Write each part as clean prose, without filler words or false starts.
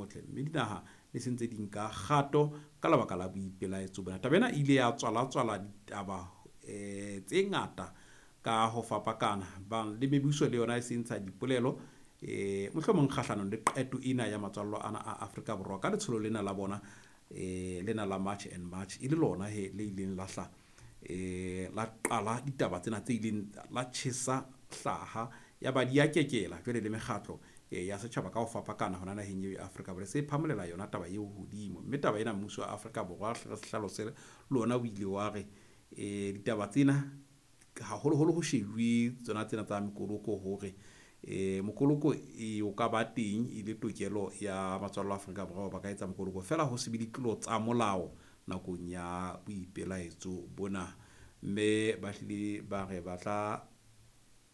motle. Mme dinaha di se ntse di nka kgato ka lebaka la boipelaetso bona. Taba ena e ile ya tswala-tswala ditaba tse ngata ka ho fapakana. Bang le mebuso le yona e se ntsha dipolelo mohlomong kgahlanong le qeto ena ya matswallo ana a Afrika Borwa ka letsholo lena la bona lena la March and March, e le lona he le ileng la hla la qala ditaba tsena tse ileng la tjhesa hlaha ya ba di ya kekela. Jwale le mekgatlo ya setjhaba ka ho fapakana hona naheng eo ya Afrika Borwa se phamolela yona taba eo hodimo. Mme taba ena mmuso wa Afrika Borwa hle re se hlalose le ona o ile wa re ditaba tsena haholoholo ho shebuwe tsona tsena tsa mekoloko hore mokoloko e o ka ba teng e le tokelo ya matswallo a Afrika Borwa ba ka etsa mokoloko feela ho se be ditlolo tsa molao nakong ya boipelaetso bona. Mme ba hlile ba re ba tla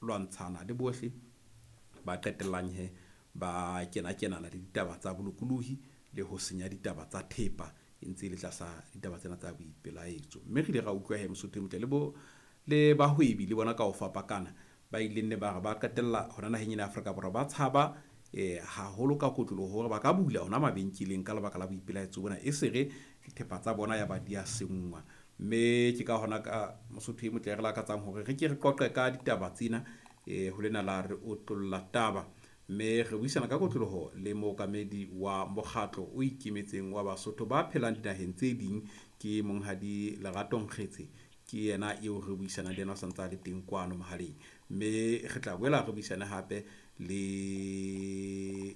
lwantshana le bohle ba qetellang he ba kena-kenana le ditaba tsa bolokolohi le ho senya ditaba tsa thepa e ntse e le tlasa ditaba tsena tsa boipelaetso. Mme re ile ra utlwa he Mosotho e motle le bo le bahwebi le bona ka ho fapakana ba ileng ne ba re ba qetella hona naheng ena ya Afrika Borwa ba tshaba haholo ka kotloloho hore ba ka bula hona mabenkeleng ka lebaka la boipelaetso bona, e se re dithepa tsa bona ya ba di a senngwa. Mme ke ka hona ka Mosotho e motle re lakatsang hore re ke re qoqe ka ditaba tsena ho lena la re otlolla taba. Mme re buisana ka kotloloho le mookamedi wa mokgatlo o ikemetseng wa Basotho ba phelang dinaheng tse ding, ke Monghadi Lerato Nkgetse. Ke yena eo re buisanang le yena o santsa a le teng kwano mohaleng. Mme re tla boela re buisane hape le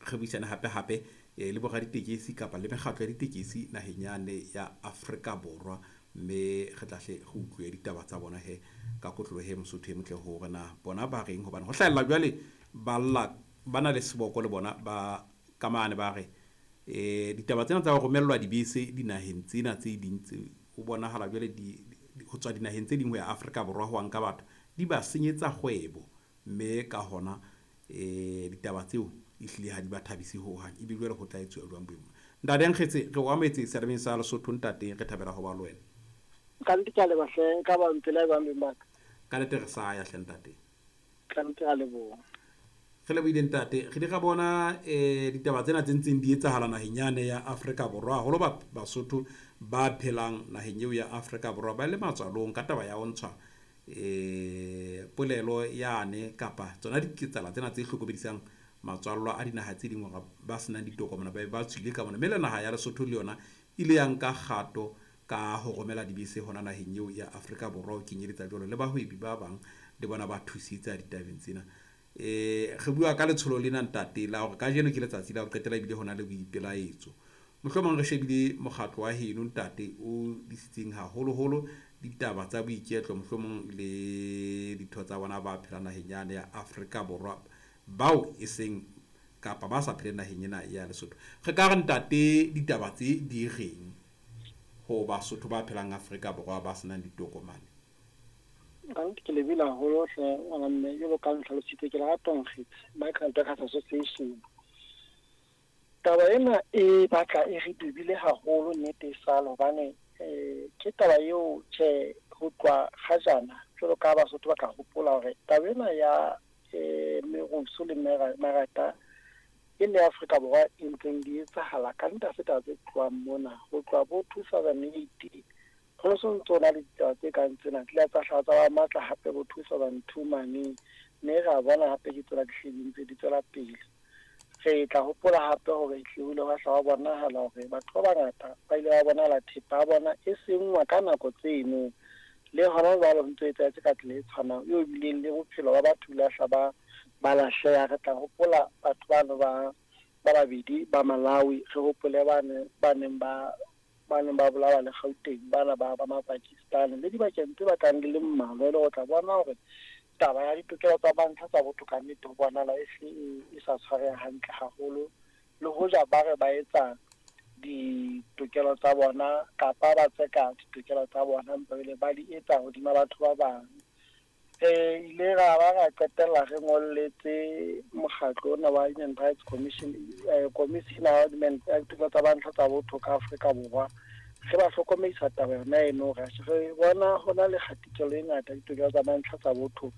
re buisane hape hape le boraditekesi kapa le mekgatlo ya ditekesi naheng yane ya Afrika Borwa. Mme re tla hle re utlwe ditaba tsa bona he ka kotloloho he Mosotho e motle hore na bona ba reng, hobane ho hlahella jwale ba lla ba na le seboko le bona ba ka mane ba re ditaba tsena tsa ho romellwa dibese dinaheng tsena tse ding tse ho bonahala jwale di ho tswa dinaheng tse ding ho ya Afrika Borwa ho nka batho di ba senyetsa kgwebo. Mme ka hona ditaba tseo ehlile ha di ba thabise hohang. Ebe jwale ho tla etsuwa jwang boemo? Ntate Nkgetse, re o amohetse seyalemoyeng sa Lesotho ntate, re thabela ho ba le wena. Ka nnete ke a leboha hle, nka ba mpela jwang beng ba ka? Ka nnete re sa ya hle ntate. Ka nnete a leboha. Re lebohile ntate. Re di ra bona ditaba tsena tse ntseng di etsahala naheng yane ya Afrika Borwa, haholo ba Basotho ba phelang naheng eo ya Afrika Borwa ba le matswalong ka taba ya ho ntshwa polelo yane kapa tsona diketsahalo tsena tse hlokomedisang matswallo a dinaha tse ding hore ba senang ditokomane ba be ba tswile ka mona. Mme le naha ya Lesotho le yona ile ya nka kgato ka ho romela dibese hona naheng eo ya Afrika Borwa, ho kenyeletsa jwalo le bahwebi ba bang le bona ba thusitse ditabeng tsena. Re bua ka letsholo lena ntate la hore kajeno ke letsatsi la ho qetela ebile hona le boipelaetso. Mohlomong re shebile mokgatlo wa heno ntate o disitseng haholoholo ditaba tsa boiketlo, mohlomong le ditho tsa bona ba phelang naheng yane ya Afrika Borwa bao e seng kapa ba sa pheleng naheng ena ya Lesotho. Re ka re ntate ditaba tse di reng ho Basotho ba phelang Afrika Borwa ba senang ditokomane? Ka nnete ke lebile haholo hle ngwana mme, jwalo ka ntlhalositse ke Lerato Nkgetse, Migrant Workers Association. Taba ena e batla e re dubile haholo nnete e sale, hobane ke taba eo tjhe ho tloha kgajana jwalo ka Basotho ba ka hopola hore taba ena ya merusu le marata e le Afrika Borwa e ntseng di etsahala ka nnete ha se taba tse tlohang mona. Ho tloha bo 2008 ho so ntso na le ditaba tse kang tsena, di ile tsa hlaha tsa ba matla hape bo 2002 mane, mme ra bona hape ke tsena di hlile di ntse di tswela pele. Re tla hopola hape hore ehlile ho ile hwa hla hwa bonahala hore batho ba bangata ba ile ba bonahala thepa ya bona e senngwa ka nako tseno. Le hona jwale ho ntso etsahetse ka tsela e tshwanang, eo bileng le bophelo ba batho ile hla ba lahleha. Re tla hopola batho bano ba babedi ba Malawi, re hopole ba neng ba bolawa le Gauteng, bana ba Mapakistani le dibakeng tse batlang di le mmalwa, e le ho tla bona hore taba ya ditokelo tsa mantlha tsa botho ka nnete ho bonahala e se e sa tshwareha hantle haholo. Le hoja ba re ba etsa ditokelo tsa bona kapa ba tseka ditokelo tsa bona, empa ebile ba di etsa hodima batho ba bang. Re ile ra ba ra qetella re ngolletse mokgatlo ona wa Human Rights Commission, Commission ya Human ditokelo tsa mantlha tsa botho ka Afrika Borwa, re ba hlokomedisa taba yona eno, re bona hona le kgatikelo e ngata ditokelo tsa mantlha tsa botho,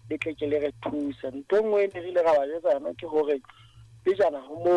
le tle ke le re thuse. Ntho e nngwe e ne re ile ra ba jwetsa yona ke hore pejana ho moo